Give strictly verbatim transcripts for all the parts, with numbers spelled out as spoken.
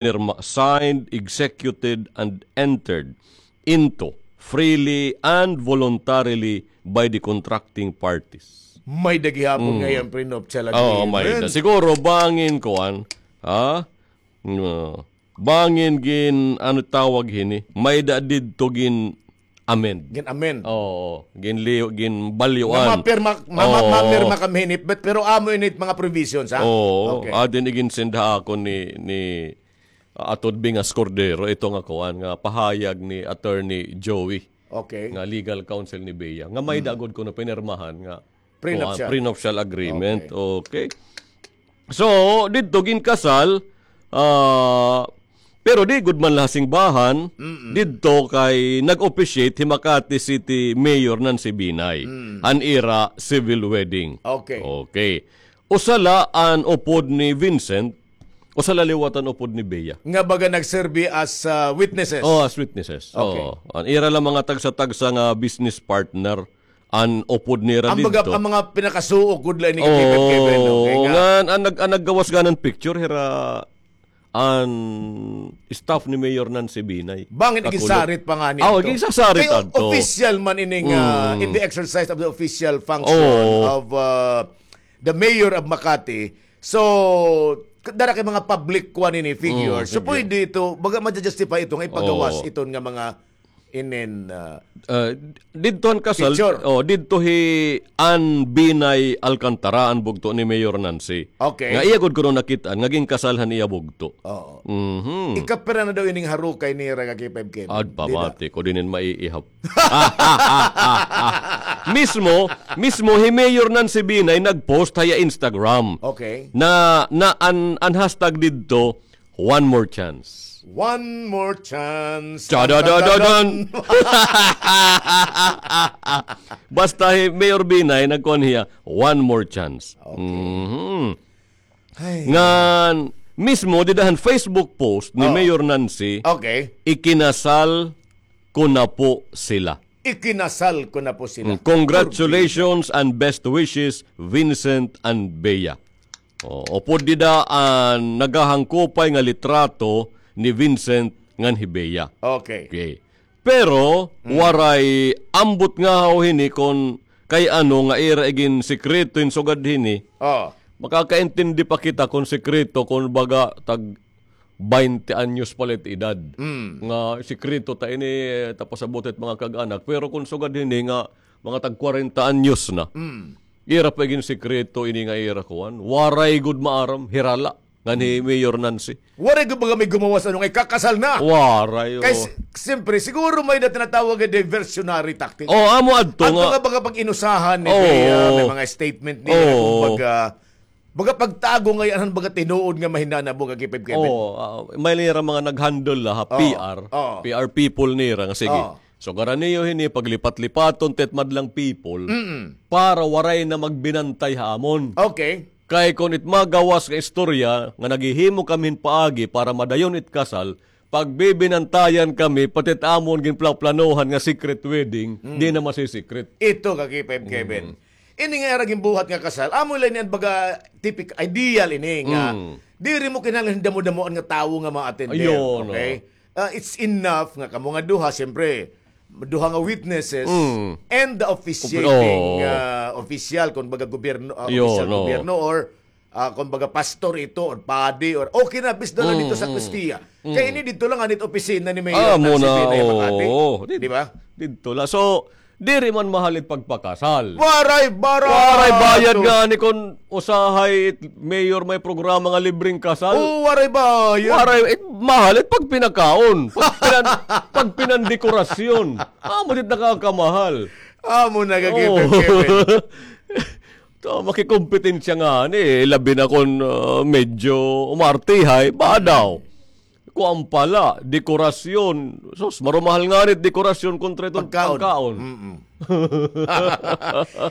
pinirma, signed, executed, and entered into freely and voluntarily by the contracting parties. May-ada gihapon ngay-an prenuptial agreement. Oo, may-ada. Siguro bangin kuan, ha? No. Bangin gin, ano tawag hini? May-ada didto gin-amend. Gin-amend. Oo, ginliw-, ginbalyuan. Nga mapirma, ma-, ma-, mapirma kami hini, but, pero amo ini it mga provisions, ha? Oo, okay. Adin iginsend ha akon ni, ni Attorney Bingas Cordero, ito nga kuan, nga pahayag ni Attorney Joey, okay, nga legal counsel ni Bea, nga may-ada gud kuno pinirmahan nga prenuptial, kuan, prenuptial agreement. Okay. Okay. So, didto ginkasal, ah, pero di gud man la ha singbahan, didto kay nag-officiate hi Makati City Mayor Nancy Binay, an ira civil wedding. Okay. Okay. Usa la an upod ni Vincent, usa la liwat an upod ni Bea. Nga baga nagserbi as, ah, witnesses? Oh, as witnesses. Okay. Oo. An ira la mga tagsa-tagsa nga business partner, an upod nira didto. Ang mga, ang mga pinakasuok gud la ini, Kevin, Kevin, okay nga. Ngan, an nag-, an naggawas gani hin picture, hira an staff ni Mayor Nancy Binay. Bangin iginsasarit pa ngani. Ah, iginsasarit adto. Kay official man ini nga, in the exercise of the official function of, uh, the mayor of Makati. So, dara kay mga public kuan ini, figure. So, pwede ito, baga ma-justify ito nga ipagawas iton nga mga inin, uh, didto han kasal, picture. Oh, didto hi Ann Binay Alcantara, an bugto ni Mayor Nancy. Okay. Nga iya gud kuno nakit-an nga ginkasal han iya bugto. Oo. Mhm. Ikapira na daw ining harukay nira, Kevin, Kevin? Ad, pamati ko, diri na maiihap. Mismo, mismo hi Mayor Nancy Binay nag-post ha iya Instagram. Okay. Na, na an, an hashtag didto, one more chance. One more chance. Chadadadadan. Basta hi Mayor Binay, nagkuan hiya, one more chance. Okay. Mhm. Ay. Ngan, mismo, dida han Facebook post ni Mayor Nancy, okay, ikinasal ko na po sila. Ikinasal ko na po sila. Mm, congratulations and best wishes, Vincent and Bea. Oh, upod dida an nagahangkupay nga litrato ni Vincent ngan hi Bea. Okay. Okay. Pero, waray ambot ngahaw hini kon kay ano nga ira iginsikreto hin sugad hini. Oh. Makakaintindi pa kita kon sikreto, kon baga tag baynte anyos pa la it edad. Mm. Nga sikreto ta ini, eh, ta pasabot it mga kag-anak. Pero kon sugad hini nga mga tag kwarenta anyos na, ira pa iginsikreto ini nga ira kuan. Waray gud maaram, hira la ngan hi Mayor Nancy. Waray gud baga may gumawas ano nga ikakasal na. Waray, oh. Kay si-, siyempre, siguro may na tinatawag nga diversionary tactic. Oh, amo adto nga. Adto nga baga pag-inusahan ni Bea, may mga statement niya, kumbaga, baga pagtago ngay-an han baga tinuod nga mahinanabo, Kevin, Kevin. Oo, ah, may nira mga nag-handle la ha P R, P R people nira nga sige. Sugaran niyo hini, paglipat-lipaton ta it madlang people para waray na magbinantay ha amon. Okay. Kay kon it magawas nga istorya nga naghihimo kami hin paagi para madayon it kasal, pagbibinantayan kami, pati it amon ginplaplanohan nga secret wedding, di na masi-secret. Ito, Kevin, Kevin. Ini nga ira ginbuhat nga kasal, amo la ini an baga typical, ideal ini nga diri mo kinahanglan hin damo-damoan nga tawo nga ma-attend. Ayun, okay? Ah, it's enough nga kamo nga duha, siyempre, duha nga witnesses and the officiating, ah, official, kon baga gobyerno, ah, official gobyerno or, ah, kon baga pastor ito or padi or okay na, bis na la didto sa sakristia. Kay ini didto la ngani it opisina ni Mayor Nancy Binay Makati. Di ba? Didto la. So, diri man mahal it pagpakasal. Waray, barato. Waray bayad ngani kon usahay it mayor may programa nga libreng kasal. Oo, waray bayad. Waray, it mahal it pagpinakaon. Pagpinan-, pagpinandekorasyon. Amo it nakakamahal. Amo na, Kevin, Kevin. To, makikompetensya ngani, eh, labi na kon, ah, medyo umartihay, ba daw. Kuan pa la, dekorasyon. Sus, marumahal ngani it dekorasyon kontra iton pagkaon. Pagkaon. Mm-mm.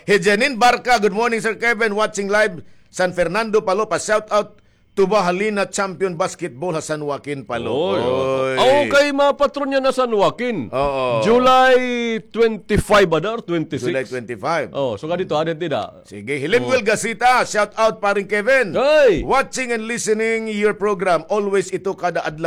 Hi Janine Barca, good morning, Sir Kevin. Watching live, San Fernando, Palo, pa-shout out Tubahalina champion basketball ha San Joaquin, Palo. Oy, oy. Aw, kay mapatron niya na San Joaquin. Oo. July twenty-five ada or twenty-six? July twenty-five. Oh, so kadto, ada dida. Sige, Hilimwil Gasita, shout out, paring Kevin. Hey! Watching and listening your program. Always ito kada adlaw.